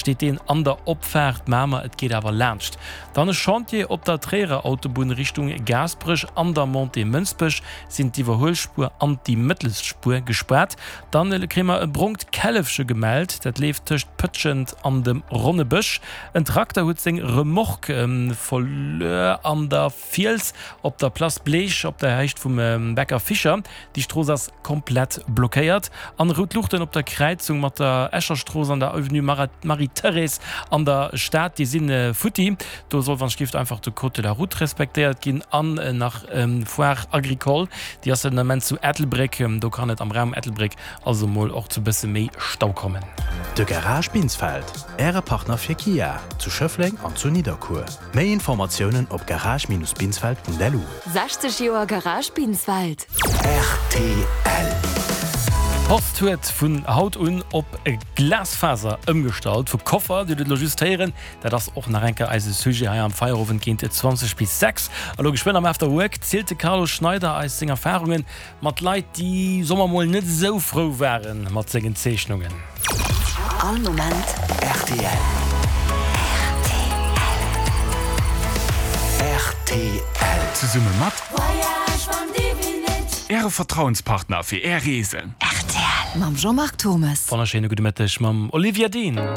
steet deen an der Opfaart Mamer, et geet awer laanscht. Dann e Chantier op der Tréierer Autobunn Richtung Gaasperech, an der Montée Mënsbech sinn d'Iwwerhuelspuer an déi mëttelst Spuer gespaart. Dann kréie mer e brongt Källefche gemellt, dat leeft tëscht Pëtschent an dem Ronnebësch. En Trakter huet seng Remorque verluer an der Fiels op der Place Bleech op der Héicht vum Bäcker Fischer. Déi Strooss ass komplett blockéiert. An rout Luuchten op der Kräizung mat der Escher Strooss an der Avenue Marie-Thérèse an der Stad, déi si futti. Do soll wann ech einfach de Code de la Route respektéiert ginn. An nach Foire Agricole, déi ass den Ament zu Ettelbréck. Do kann et am Raum Ettelbréck also mol och zu bësse méi Stau kommen. De Garage Binsfeld, Äre Partner fir Kia zu Schëffleng an zu Nidderkuer. Méi Informatiounen op garage-binsfeld.lu. 60 Joer Garage Binsfeld. Rtl. D'Post huet vun haut un op Glasfaser ëmgestallt. Vu Koffer, Dir hutt et elo just héieren, dat ass och nach eng Kéier eise Sujet hei am Feierowend géint 20 bis 6. A lo geschwënn am After Work zielt de Carlo Schneider eis seng Erfarungen Mat Leit, déi, soe mer mol, net esou frou ware mat sengen Zeechnungen. All Moment rtl. Rtl. Zesumme mat Äre Vertrauenspartner fir Är Reesen. Rtl mam Jean-Marc Thommes. Wonnerschéine gudde Mëtteg mam Olivia Dean.